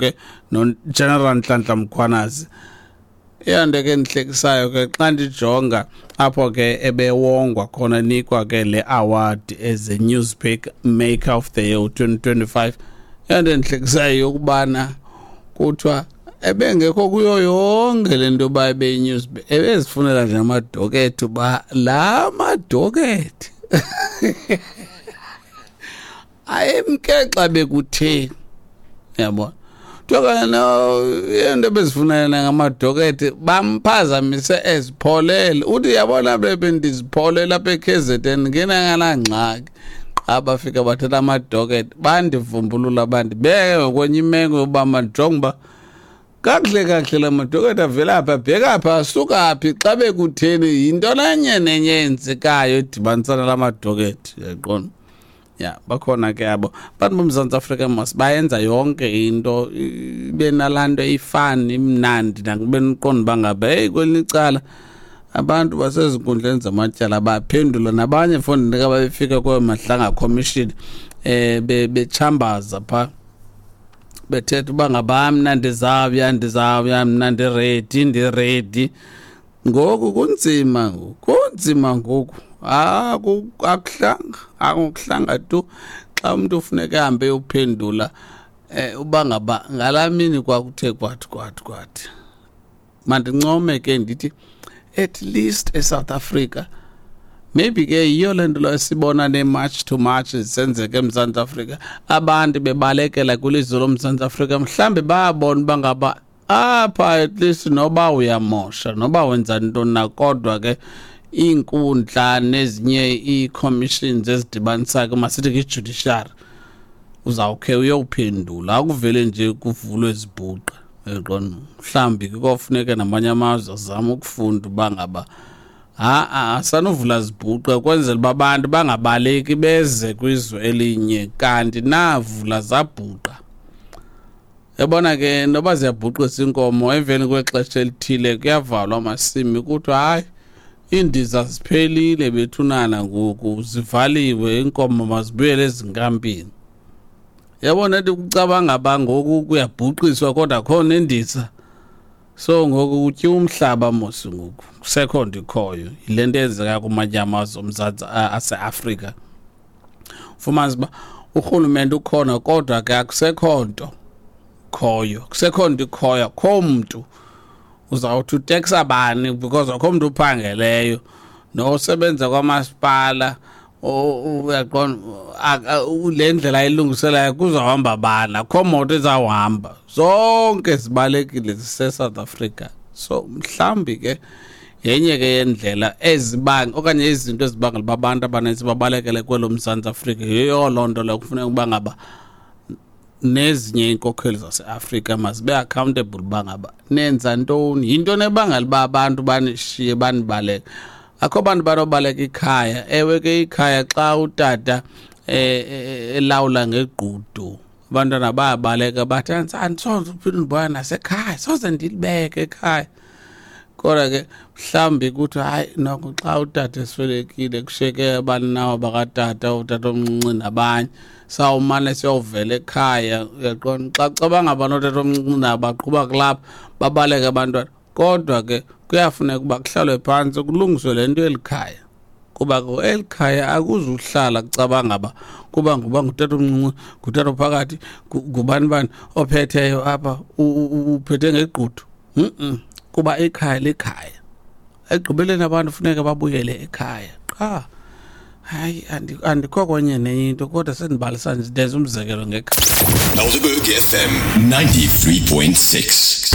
Ke noGeneral Nhlanhla Mkhwanazi, eyonto ke endihlekisayo ke xa ndijonga apho ke ebewongwa khona, nikwa ke le award as a newspaper maker of the year 2025, eyonto endihlekisayo yokubana kuthiwa ebengekho kuyo yonke le nto yoba ebeyi-news, ebezifunela nje amadokethi, uba laa madokethi ayemke xa bekutheni, yabona. Kuthiwa no into ebezifunela ngamadokethi, bamphazamise ezipholele. Uthi, yabona, bebe ndizipholele apha e-KZN ngenanganangxaki, qha bafika bathatha amadokethi, bandivumbulula, bandibeke ngokwenye imeko yoba mandijonge uba kakuhle kakuhle la madokethi avela phi, abheka phi, asuka phi, xa bekutheni, yinto nenye nenye eyenzekayo edibanisana la madokethi, uyaqonda. Ya, bakhona ke abo bantu boMzantsi Afrika mos, bayenza yonke into ibe nalaa nto ifani, imnandi, nakube niqonda uba ngaba heyi, kwelinye icala abantu basezinkundleni zamatyala baphendula nabanye fondini ka babefika kweyo Madlanga Commission bechambaza phaa, bethetha uba ngaba mna ndizawuya, ndizawuya mna, ndi-ready, ndi-ready. Ngoku kunzima ngoku, kunzima ngoku. Akuhlanga, akuhlanga tu xa umuntu ufuneka ahambe eyophendula uba ngaba ngalaa mini kwakuthe kwathi kwathi kwathi. Mandincome ke ndithi at least eSouth Africa, maybe ke yiyo le nto lo sibona ne-march to march zisenzeka eMzantsi Afrika, abantu bebalekela kwilizwe loMzantsi Afrika. Mhlawumbi bayabona uba ngaba apha at least noba uyamosha, noba wenza ntoni na, kodwa ke iinkundla nezinye ii-commissions ezidibanisayo ke, masithi ke i-judiciary, uzawukhe uyowuphendula, akuvele nje kuvulwe izibhuqa, uyaqonda. Mhlawumbi ke kofuneka namanye amazwe azame ukufunda uba ngaba ha-a, asanuvula zibhuqe kwenzela uba abantu bangabaleki beze kwizwe elinye, kanti navula zabhuqa. Yabona ke, noba ziyabhuqisa inkomo, emveni kwexesha elithile kuyavalwa amasimi, kuthiwa hayi, iindiza ziphelile bethunana, ngoku zivaliwe, iinkomo mazibuyele ezinkampini. Yabona, ethi kucabanga ba ngoku kuyabhuqiswa kodwa khona indiza, so ngoku kutyiwa umhlaba mos, ngoku kusekho nto ikhoyo. Yile nto eyenzeka kumanye amazwe oMzantsi aseAfrika, fumanisa uba urhulumente ukhona kodwa ke akusekho nto khoyo, kusekho nto ikhoyo, akho mntu uzawuthi uteksa bani because akho mntu uphangeleyo, nosebenza kwamasipala, uyaqonda, le ndlela ayilungiselayo kuzawuhamba bani? Akho moto izawuhamba, zonke zibalekile zise-South Africa. So mhlawumbi ke yenye ke yendlela ezibanga okanye izinto ezibangela uba abantu abanintsi babalekele kwelo Mzantsi Afrika, yiyo loo nto leyo. Kufuneka uba ngaba nezinye iinkokheli zaseAfrika mazibe accountable uba ngaba nenza ntoni, yintoni ebangela uba abantu banishiye, banibaleke. Akho bantu banobaleka ikhaya. Ewe ke, ikhaya xa utata elawula ngegqudu, abantwana bayabaleka, bathi andisoze uphinde ndibona nasekhaya, soze ndilibeke ekhaya. Kodwa ke mhlawumbi kuthi hayi noko, xa utata eswelekile kushiyeke abaninawa bakatata, utata omncinci nabanye, sawumane siyovela ekhaya, uyaqonda. Xa kucabanga abantu otata omncinci nabo baqhuba kulapha, babaleke abantwana. Kodwa ke kuyafuneka uba kuhlalwe phantsi kulungiswe le nto eli khaya, kuba ke eli khaya akuzuhlala kucabanga ba kuba nguba ngutata omncinci, ngutata ophakathi, ngubani bani ophetheyo apha, uphethe ngegqudu. Kuba ikhaya likhaya, ekugqibeleni abantu funeka babuyele ekhaya qha. Hayi, andikho kwenye nenye into, kodwa sendibalisa nje, ndenza umzekelo ngekhaya. Helderberg FM 93.6.